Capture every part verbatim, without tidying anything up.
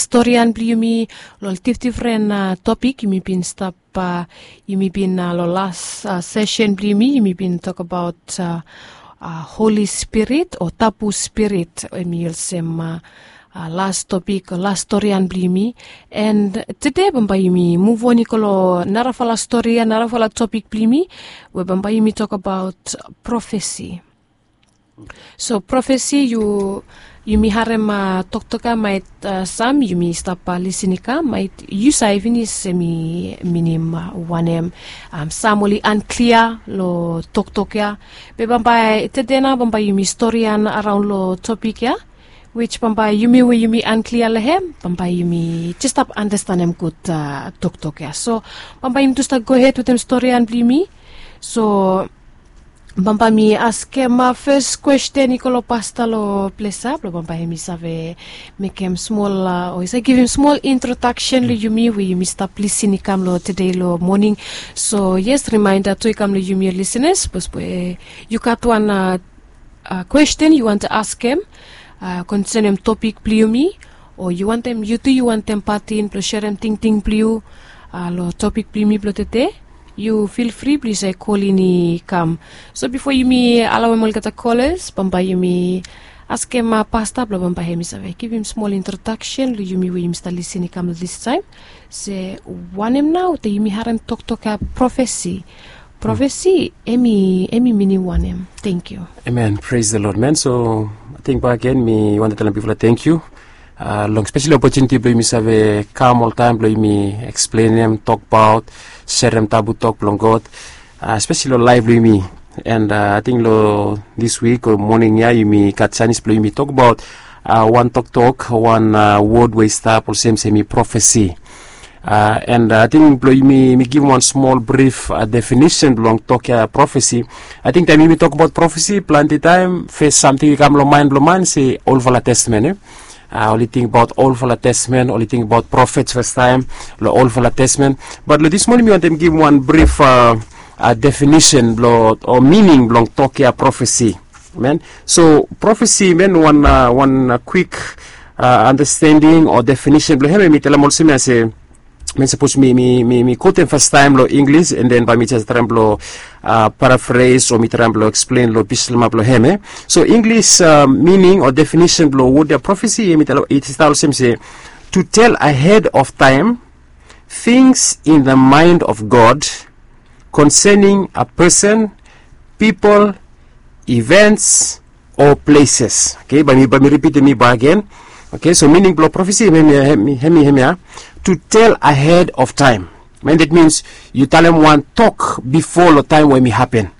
storian blong yumi long ol difdifren topik yumi bin stap, yumi bin long las sesen blong yumi yumi bin tokabaot holi spirit o tabu spirit, em i olsem las topik o las storian blong yumi. And tede bambae yumi muvon i go long narafala stori ya, narafala topik blong yumi, we bambae yumi tokabaot profesi. So profesi, yumi harem toktok ya, maet sam yumi stap lisin i kam, maet yu save finis em i minim wanem. Sam oli anklia long toktok ya. Be bambae tede nao bambae yumi storian araon long topik ya, wis bambae yumi we yumi anklia long hem bambae yumi jes stap anastanem gud toktok ya. So bambae yumi tu stap gohed wetem storian blong yumi. So bambae mi askem fes kwesten i go long pasta long ples ya blong bambae hem i save mekem smol, o i save givim smol introdaksen long yumi we yumi stap lisin i kam long tede long moning. So yes, rimaenda tu i kam long yumi ol lisenas sapos we yu gat wan kwesten yu wantem askem konsenem topik blong yumi, o yu wantem yu tu yu wantem patin blong serem tingting blong yu long topik blong yumi blong tede, yu fil fri blong yu save kolin i kam. So bifo yumi alawem olgeta kolas bambae yumi askem pasta blong bambae hem i save givim smol introdaksen long yumi we yumi stap lisin i kam long distaem, se wanem nao te yumi harem toktok ya profesi. Profesi em i minim wanem? Tengkiu. Amen, pres the Lord man. So ating bagen mi wantem talem bifala tengkiu long spesali opotuniti blong yumi save kam oltaem blong yumi eksplenem, tokbaot, serem tabu tok blong God, spesali long laef blong yumi. And ating long dis wik o moning ya yumi gat sanis blong yumi tokbaot wan toktok, wan wod we i stap olsem se em i profesi. And ating blong yumi mi givim wan smol brif definisen blong tok ya profesi. Ating taem yumi tokbaot profesi plante taem fes samting i kam long maen blong man se olfala testamen. Oli tingbaot olfala testamen, oli tingbaot profets fastaem long olfala testamen. Bat long dis moning mi wantem givim wan brif definisen blong o mining blong tok ya profesi. Amen. So profesi men wan wan kwik andastending o definisen blong hem em i talem olsem ya se, men sapos mi mi mi mi kotem fastaem long Inglis and then bae mi jes traem blong parafres o mi traem blong eksplen long bislama blong hem e. So Inglis mining o definisen blong wod ya profesi em i talem i stap olsem se, to tell ahead of time things in the mind of God concerning a person, people, events o places. Oke, bae mi bae mi ripitim i bagen. Oke, so mining blong profesi hem i hem i hem i hem ya, to tell ahead of time. Men that means yu talem wan tok bifo long taem we em i hapen.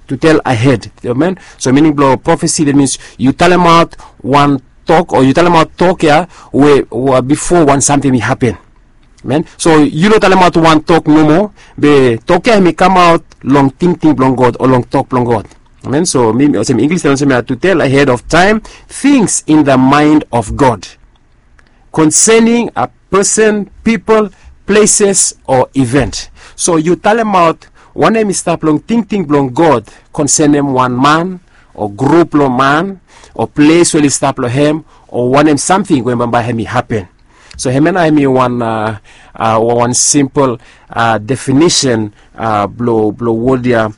To tell ahead, amen. So mining blong profesi that means yu talemaot wan tok o yu talemaot tok ya we bifo wan samting i hapen. Amen. So yu no talemaot wan tok nomo, be tok ya hem i kamaot long tingting blong God o long tok blong God. Amen. So mi olsem Inglis talem olsem ya, to tell ahead of time things in the mind of God concerning a person, people, places o event. So yu talemaot wanem i stap long tingting blong God konsenem wan man o grup blong man o ples we oli stap long hem o wanem samting we bambae hem i hapen. So hemia nao hem i wan wan simpol definisen blong wod ya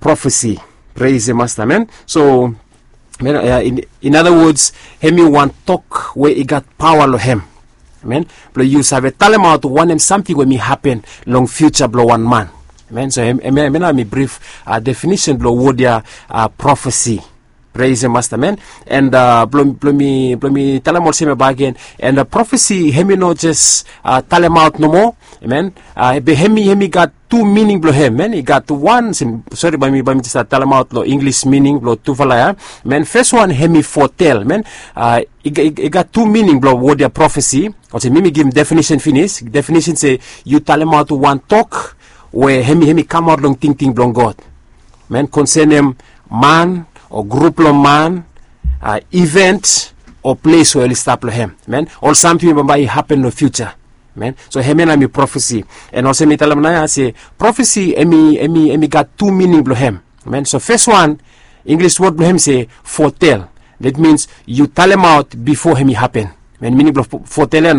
profesi. Pres the Masta, amen. So in other words, hem i wan tok we i gat paoa long hem, amen, blong yu save talemaot wanem samting we hem i hapen long fiuja blong wan man. Amen. So hemia nao hem i brif definisen blong wod ya profesi. Pres the Masta, amen. And blong mi talem olsem ya bagen, and profesi hem i no jes talemaot nomo, amen. Be hem i hem i gat tu mining blong hem, amen. I gat wan, sori bae mi bae mi jes talemaot long Inglis mining blong tufala ya, amen. Fes wan hem i fotel, amen. I gat tu mining blong wod ya profesi. Olsem mi mi givim definisen finis, definisen se yu talemaot wan tok we hem i hem i kamaot long tingting blong God, amen, konsenem man o grup blong man, event o ples we oli stap long hem, amen, ol samting we bambae i hapen long fiuja. Amen. So hemia nao hem i profesi. And olsem mi talem nao ya se profesi hem i hem i hem i gat tu mining blong hem. Amen. So fes wan, Inglis wod blong hem se fotel. That means yu talemaot bifo hem i hapen. Amen. Mining blong fotel ya